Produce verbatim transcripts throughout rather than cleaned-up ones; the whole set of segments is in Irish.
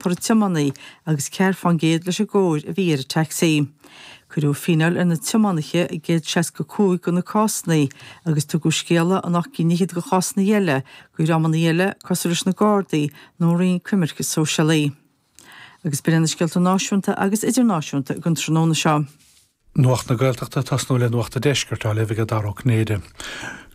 iompar an tiománaí agus ceathair fán gcéad leis an gcóir a bhí ar an taxi. Cuireadh fíneáil ar na tiománaithe i gcéad seasca cúig de na cásanna agus tugadh scéala in ocht gcinn fhichead de chásanna eile go dhreamanna eile cosúil leis na Gardaí nó Roinn Coimirce Sóisialaí. Agus b'in na scéalta náisiúnta agus idirnáisiúnta don tráthnóna seo. Nuacht na Gaeltachta tosnú le Nuacht an Deiscirt á léamh ag Dara Ó Cinnéide.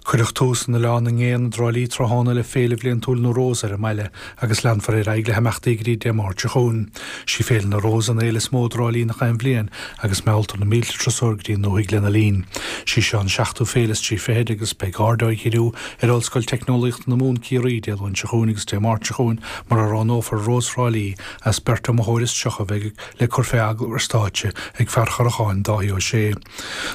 Cuireadh tús in Oileán na nGéanna i dTrá Lí tráthnóna le féile bhliantúil na Rós ar an mbaile agus leanfar ar aghaidh le himeachtaí go dtí Dé Máirt seo chugainn. Sí Féile na Rós an fhéile is mó i dTrá Lí gach aon bhliain agus mealltar na mílte turasóir go dtí an dúthaigh lena linn. Sí seo an seachtú féile is trí fichid agus beidh aird á dhíriú ar Ollscoil Teicneolaíochta na Mumhan Ciarraí Dé Luain seo chugainn agus Dé Máirt seo chugainn mar a roghnófar Rós Thrá Lí as beirt iomaitheoir is tríocha a bheidh le cur fé agallamh ar stáitse ag fear Choracháin Dáithí Ó Sé.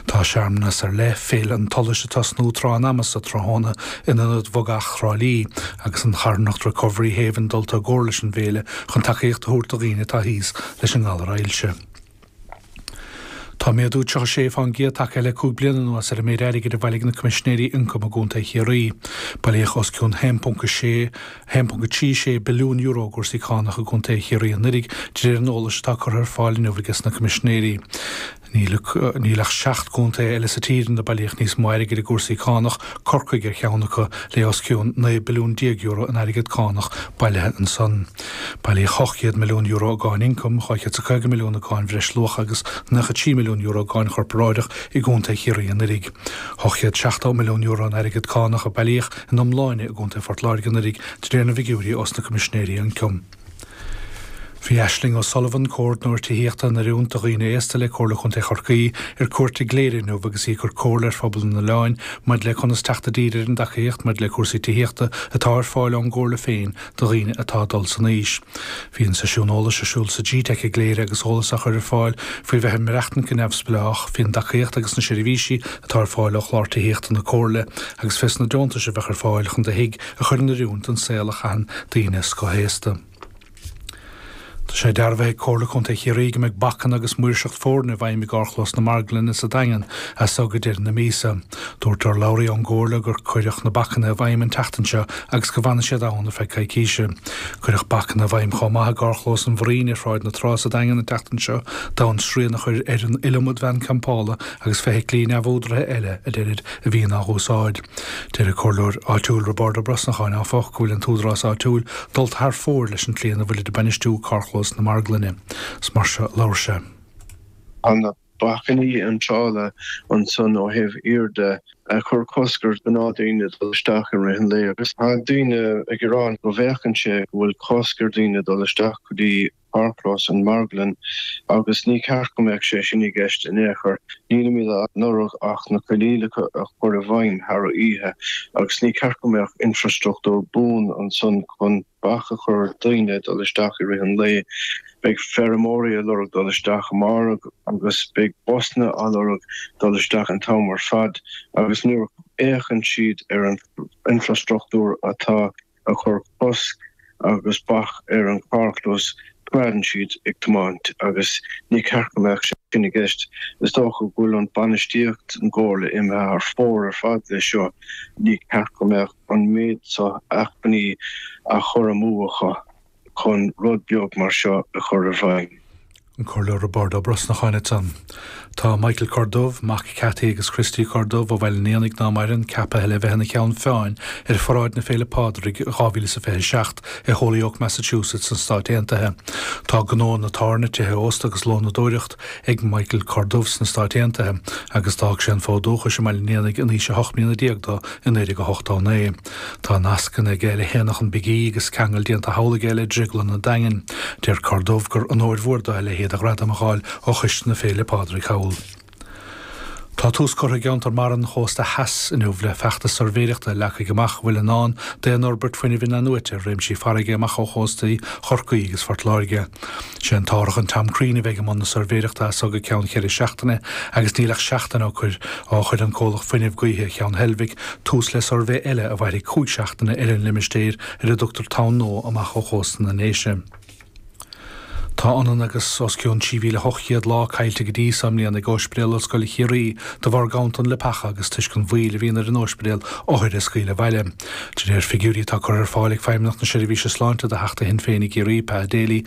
Tá searmanas ar leith Féile an tSolais ag tosnú tráth an ama sa tráthnóna in ionad Bhogach Thrá Lí agus an charthanacht Recovery Haven dulta i gcomhar leis an bhféile chun tacaíocht a thabhairt do dhaoine atá thíos leis an ngalar ailse. Tá méadú tríocha sé fán gcéad tagtha le cúig bliana anuas ar an méid airgid a bhailigh na Coimisinéirí Ioncaim i gContae Chiarraí. Bailíodh os cionn haon ponc sé haon ponc trí sé billiún euro i gcúrsaí cánach i gContae Chiarraí anuraidh de réir an eolais atá curtha ar fáil inniu aige sna Coimisinéirí. Níl ach seacht gcontae eile sa tír ina bailíodh níos mó airgid i gcúrsaí cánach, Corcaigh ar cheann acu le os cionn naoi billiún déag euro in airgead cánach bailithe ansan. Bailíodh ocht gcéad milliún euro i gcáin ioncaim, dhá chéad is a caoga milliún i gcáin bhreisluacha agus nócha trí milliún euro i gcáin chorparáideach i gContae Chiarraí anuraidh. ocht gcéad seachtó milliún euro in airgead cánach a bailíodh in iomláine i gContae Phort Láirge anuraidh de réir na bhfigiúirí ós na Coimisinéirí Ioncaim. Bhí Aisling O'Sullivan, comhordaitheoir tithíochta in oiriúint do dhaoine aosta le Comhairle Chontae Chorcaí ar cuairt i gCléire inniu agus í ag cur comhairle ar phobal an oileáin maidir le conas teacht i dtír ar an dtacaíocht maidir le cúrsaí tithíochta atá ar fáil ón gComhairle féin do dhaoine atá ag dul san aois. Bhí an seisiún eolais ar siúl sa G-Tech i gCléire agus eolas á chur ar fáil faoi bheith ag maireachtaint go neamhspleách, faoin dtacaíocht agus na seirbhísí atá ar fáil ó chlár tithíochta na Comhairle agus fés na deontais a bheadh ar fáil chun do thigh a chur in oiriúint don saol a chaitheann daoine scothaosta. Tá sé dearbhaithe ag Comhairle Contae Chiarraí go mbeidh bacanna agus maoirseacht foirne i bhfeidhm i gcarrchlós na Marglainne sa Daingean as so go deireadh na míosa. Dúirt urlabhraí ón gComhairle gur cuireadh na bacanna i bhfeidhm an tseachtain seo agus go bhfanfaidh siad ann ar feadh coicíse. Cuireadh bacanna i bhfeidhm chomh maith i gcarrchlós an Bhraoin ar Shráid na Trá sa Daingean an tseachtain seo d'fhonn srian a chur ar an iliomad veain campála agus feithiclí neamhúdaraithe eile a deirid a bhíonn á úsáid. Deir an comhairleoir áitiúil Roibeárd Ó Brosnacháin áfach go bhfuil an t-údarás áitiúil dulta thar fóir leis an tslí ina bhfuilid ag bainistiú carrchlós na Marglainne. Is mar seo a labhair sé. Tá na bacainní iontrála ansan ó thaobh thiar de ag cur cosc ar ghnáthdhaoine dul isteach i rith an lae agus tá daoine ag gearán go bhféachann sé go bhfuil cosc ar dhaoine dul isteach go dtí carrchlós an Marglann agus ní ceart go mbeadh sé sin i gceist in aon chor. Nílimid á lorg ach na coinníollacha a chur i bhfeidhm thar oíche agus ní ceart go mbeadh infrastruchtúr buan ansan chun bac a chur ar dhaoine dul isteach i rith an lae. Beidh feirmeoirí ag lorg dul isteach amárach agus beidh busanna á lorg dul isteach an t-am ar fad agus nuair a fhéachann siad ar an infrastruchtúr atá ag cur cosc agus bac ar an carrchlós coimeádann siad ag tiomáint agus ní ceart go mbeadh sin i gceist. Is dócha go bhfuil an bainistíocht an gComhairle imithe thar fóir ar fad leis seo. Ní ceart go mbeadh an méid seo acmhainní á chur amú acu chun rud beag mar seo a chur i bhfeidhm. An Comhairleoir Roibeárd Ó Brosnacháin ansan. Tá Michael Corduff, mac Cathy agus Christy Corduff ó Bhaile an Éanaigh ná maireann, ceaptha le bheith ina cheann feadhain ar pharáid na Féile Pádraig dhá mhíle is a fiche seacht i Holyoke, Massachusetts sna Stáit Aontaithe. Tá gnó na tábhairne, tithe ósta agus lónadóireacht ag Michael Corduff sna Stáit Aontaithe agus d'fhág sé an fód dúchais i mBaile an Éanaigh in aois a hocht mbliana déag dó i naoi déag a hochtó naoi. Tá nascanna aige le hAonach an Big E agus ceangal déanta thall aige le Drioglann an Daingin. Deir Corduff gur onóir mhór dó a leithéid de ghradam a fháil ó Choiste na Féile Pádraig thall. Tá tús curtha i gceantar mara an chósta theas inniu le feachtas suirbhéireachta a leagfaidh amach a bhfuil i ndán d'aon fhorbairt fuinnimh in-athnuaite ar réimsí farraige amach ó chóstaí Chorcaí agus Phort Láirge. Sé an t-árthach an Tom Crean a bheidh i mbun na suirbhéireachta as so go ceann cheithre seachtaine agus níl ach seachtain ó chuir ó chuir an comhlacht fuinnimh gaoithe Cheann Heilbhic tús le suirbhé eile a mhairfidh cúig seachtaine ar an limistéar ar a dtugtar Tonn Nua amach ó chósta na nDéise. Tá ionann agus os cionn trí mhíle ocht gcéad lá caillte go dtí seo i mbliana ag Ospidéal Ollscoile Chiarraí de bharr ganntan leapacha agus toisc an mhoill a bhíonn ar an ospidéal othair a scaoileadh abhaile. De réir figiúirí atá curtha ar fáil ag Feidhmeannacht na Seirbhíse Sláinte do Theachta Shinn Féin i gCiarraí, Pa Daly,